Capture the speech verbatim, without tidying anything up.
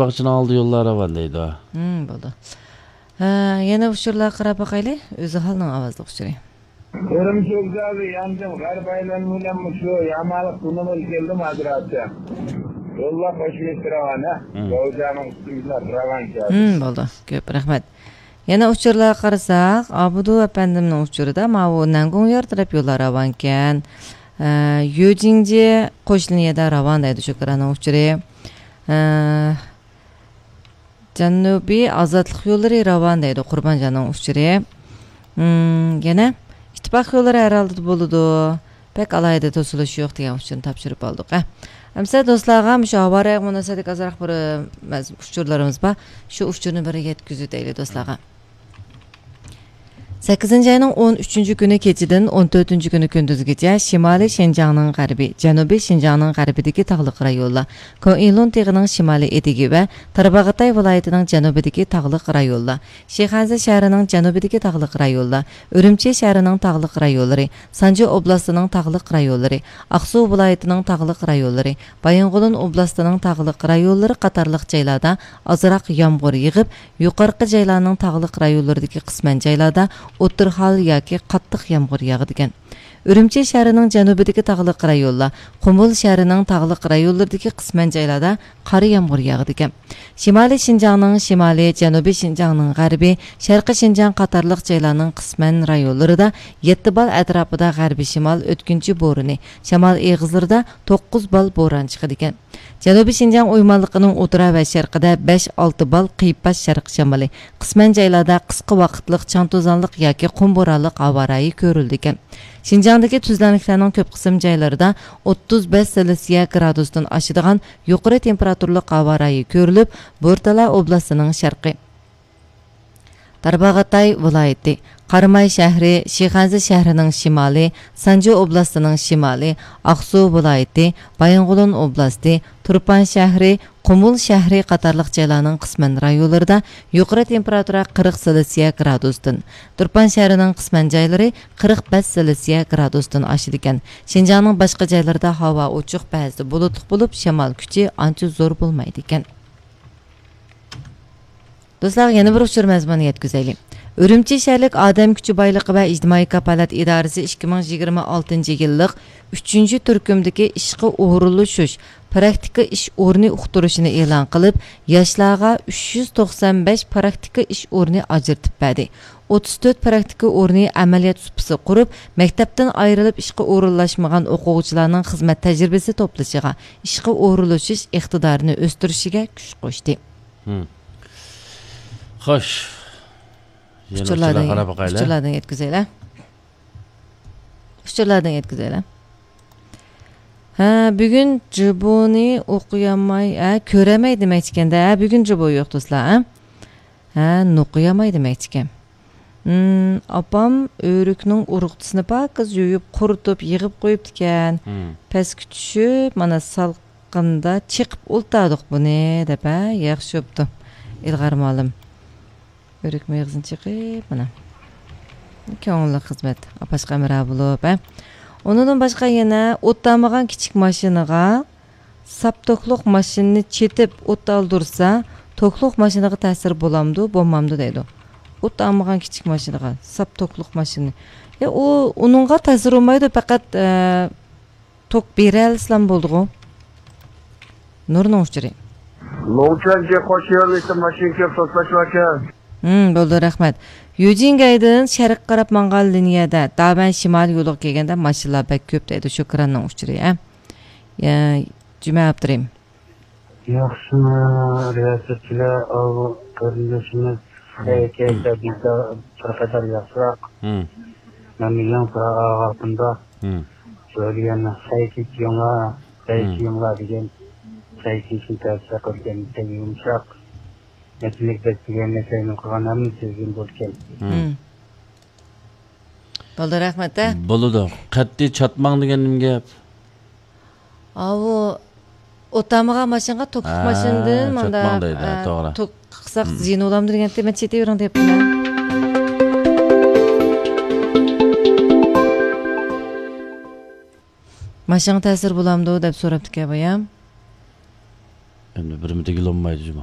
باغچىنىڭ ئالدى يوللار راۋان دەيدۇ. ھىم، بولدى. ھە، يەنە ئۇچۇرلارغا قاراپ باقايلى. ئۆزى ھالنىڭ ئاۋازلىق ئۇچۇرى. ئۆرۈمچى ۋوگزالى ياندىن غەرب ئايلانما بىلەن مۇشۇ يامالىق توننېل كەلدىم ھازىر. يوللار خوش راۋان، ھە؟ ھىم. گاۋجانىڭ ئۈستى بىلەن راۋان كەلدى. ھىم، بولدى. كۆپ رەھمەت. يەنە ئۇچۇرلارغا قارىساق، ئابدۇ ئەپەندىمنىڭ ئۇچۇرىدا ماۋۇ نەنگۇڭيار تەرەپ يوللار راۋانكەن. ئە، يۈجىڭجى قوش لىنىيەدە راۋان دەيدۇ شۇكراننىڭ ئۇچۇرى. ئە، جەنۇبىي ئازادلىق يوللىرى راۋان دەيدۇ قۇربانجاننىڭ ئۇچۇرى. ئىم، يەنە ئىتتىپاق يوللىرى ھەر ھالدا بولىدۇ. بەك ئالاھىدە توسۇلۇش يوق دېگەن ئۇچۇرنى تاپشۇرۇپ ئالدۇق. ئە، ئەمسە دوستلارغا مۇشۇ ھاۋا رايىغا مۇناسىۋەتلىك ئازراق بىر، ئە، ئۇچۇرلىرىمىز بار. شۇ ئۇچۇرنى بىر يەتكۈزۈۋېتەيلى دوستلارغا. سەككىزىنچى ئاينىڭ ئون ئۈچىنچى كۈنى كېچىدىن ئون تۆتىنچى كۈنى كۈندۈزگىچە شىمالىي شىنجاڭنىڭ غەربى، جەنۇبىي شىنجاڭنىڭ غەربىدىكى تاغلىق رايونلار، كۇنئىلۇن تېغىنىڭ شىمالىي ئېتىكى ۋە تارباغاتاي ۋىلايىتىنىڭ جەنۇبىدىكى تاغلىق رايونلار، شىخەنزە شەھىرىنىڭ جەنۇبىدىكى تاغلىق رايونلار، ئۈرۈمچى شەھىرىنىڭ تاغلىق رايونلىرى، سانجى ئوبلاستىنىڭ تاغلىق رايونلىرى، ئاقسۇ ۋىلايىتىنىڭ تاغلىق رايونلىرى، بايىنغولىن ئوبلاستىنىڭ تاغلىق رايونلىرى قاتارلىق جايلاردا ئازراق يامغۇر يېغىپ، يۇقىرىقى جايلارنىڭ تاغلىق رايونلىرىدىكى قىسمەن جايلاردا ئوتتۇرا ھال ياكى قاتتىق يامغۇر ياغىدىكەن. ئۈرۈمچى شەھىرىنىڭ جەنۇبىدىكى تاغلىق رايونلار، قۇمۇل شەھىرىنىڭ تاغلىق رايونلىرىدىكى قىسمەن جايلاردا قارا يامغۇر ياغىدىكەن. شىمالىي شىنجاڭنىڭ شىمالى، جەنۇبىي شىنجاڭنىڭ غەربى، شەرقىي شىنجاڭ قاتارلىق جايلارنىڭ قىسمەن رايونلىرىدا يەتتە بال ئەتراپىدا غەربىي شىمال ئۆتكۈنچى بورىنى، شامال ئېغىزلىرىدا توققۇز بال بوران چىقىدىكەن. جەنۇبىي شىنجاڭ ئويمانلىقىنىڭ ئوتتۇرا ۋە شەرقىدە بەش ئالتە بال قىيپاش شەرق شامىلى، قىسمەن جايلاردا قىسقا ۋاقىتلىق چاڭ توزانلىق ياكى قۇم بورانلىق ھاۋا رايى كۆرۈلىدىكەن. شىنجاڭدىكى تۈزلەڭلىكلەرنىڭ كۆپ قىسىم جايلىرىدا ئوتتۇز بەش سېلسىيە گرادۇستىن ئاشىدىغان يۇقىرى تېمپېراتۇرىلىق ھاۋا رايى كۆرۈلۈپ، بورتالا ئوبلاستىنىڭ شەرقى، تارباغاتاي ۋىلايىتى، قاراماي شەھىرى، شىخەنزە شەھىرىنىڭ شىمالى، سانجى ئوبلاستىنىڭ شىمالى، ئاقسۇ ۋىلايىتى، بايىنغولىن ئوبلاستى، تۇرپان شەھىرى، قۇمۇل شەھىرى قاتارلىق جايلارنىڭ قىسمەن رايونلىرىدا يۇقىرى تېمپېراتۇرا قىرىق سېلسىيە گرادۇستىن، تۇرپان شەھىرىنىڭ قىسمەن جايلىرى قىرىق بەش سېلسىيە گرادۇستىن ئاشىدىكەن. شىنجاڭنىڭ باشقا جايلىرىدا ھاۋا ئوچۇق، بەزىدە بۇلۇتلۇق بولۇپ، شامال كۈچى ئانچە زور بولمايدىكەن. دوستلارغا يەنە بىر ئۇچۇر مەزمۇنى يەتكۈزەيلى. ئۈرۈمچى شەھەرلىك ئادەم كۈچى بايلىقى ۋە ئىجتىمائىي كاپالەت ئىدارىسى ئىككى مىڭ يىگىرمە ئالتىنچى يىللىق ئۈچىنچى تۈركۈمدىكى ئىشقا ئورۇنلىشىش پراكتىكا ئىش ئورنى ئۇقتۇرۇشىنى ئېلان قىلىپ، ياشلارغا ئۈچ يۈز توقسان بەش پراكتىكا ئىش ئورنى ئاجرىتىپ بەردى. ئوتتۇز تۆت پراكتىكا ئورنى ئەمەلىيەت سۇپىسى قۇرۇپ، مەكتەپتىن ئايرىلىپ ئىشقا ئورۇنلاشمىغان ئوقۇغۇچىلارنىڭ خىزمەت تەجرىبىسى توپلىشىغا، ئىشقا ئورۇنلىشىش ئىقتىدارىنى ئۆستۈرۈشىگە كۈچ قوشتى. ھىم. خوش. يەنە ئۇچۇرلاردىن، ئۇچۇرلارغا قاراپ باقايلى. ئۇچۇرلاردىن يەتكۈزەيلى. ئۇچۇرلاردىن يەتكۈزەيلى. ھە، بۈگۈن جىبونى ئوقۇيالماي، ھە، كۆرەلمەي دېمەكچىكەندە. ھە، بۈگۈن جىبو يوق، دوستلار، ھە؟ ھە، نوقۇيالماي دېمەكچىكەن. ھىم، ئاپام ئۆرۈكنىڭ ئۇرۇقچىسىنى پاكىز يۇيۇپ، قۇرۇتۇپ، يىغىپ قويۇپتىكەن. ھىم. پەسكە چۈشۈپ، مانا سالقىندا چېقىپ ئولتۇردۇق بۇنى، دەپ، ھە، ياخشى بوپتۇ. ئىلغار مۇئەللىم. ئۆرۈك مېغىزىنى چېقىپ، مانا. كۆڭۈللۈك خىزمەت. ئاپاشقا ھەمراھ بولۇپ، ھە. ئۇنىڭدىن باشقا يەنە ئوت تارمىغان كىچىك ماشىنىغا ساپ توكلۇق ماشىنىنى چېتىپ ئوت ئالدۇرسا، توكلۇق ماشىنىغا تەسىر بولامدۇ، بولمامدۇ دەيدۇ. ئوت تارمىغان كىچىك ماشىنىغا ساپ توكلۇق ماشىنىنى. يا، ئۇ، ئۇنىڭغا تەسىر بولمايدۇ، پەقەت، ئە، توك بېرەلىسىلام بولدىغۇ. نۇرنىڭ ئۇچۇرى. لوڭچەنچە قوش يۆنىلىشتە ماشىنا كۆپ توسلاشۋاتىكەن. ھىم، بولدى، رەھمەت. يۈجىنگەيدىن شەرققە قاراپ ماڭغان لىنىيەدە دابەن شىمالىي يولىغا كەلگەندە ماشىنىلار بەك كۆپ دەيدۇ شۇكراننىڭ ئۇچۇرى، ھە. يا، جۈمە ئابدۇرېھىم. ياخشىمۇ رىياسەتچىلەر، ئاۋۇ قېرىندىشىمىز خەيرىكەيسە بىزدە بىر قەدەر ياخشىراق. مەن يېڭى ئاغاپتىمدا سۆلىگەن خەيكىچ يېڭى، خەيكى يېڭى دېگەن خەيكىچنى تەۋسىيە قىلغان بەك يۇمشاق. مەسىلىك بەك دېگەن نەسەينى قىلغان ھەممە سۆزگىن بولكەن. بولدى، رەھمەت، ھە؟ بولىدۇ. قەتئىي چاتماڭ دېگەن نېمە گەپ؟ ئاۋۇ ئوتامىغا ماشىنىغا توكلۇق ھە، ماشىنىدىن ماندا، چاتماڭ دەيدۇ، ھە، توغرا. توك قىلساق زىيىنى بولامدۇ دېگەنتى، مەن چېتىۋېرىڭ دەپتىمەن. ماشىنىغا تەسىر بولامدۇ دەپ سوراپتىكەن بايام. ئەمدى بىرمۇ دېگىلى بولمايدۇ جۇمۇ.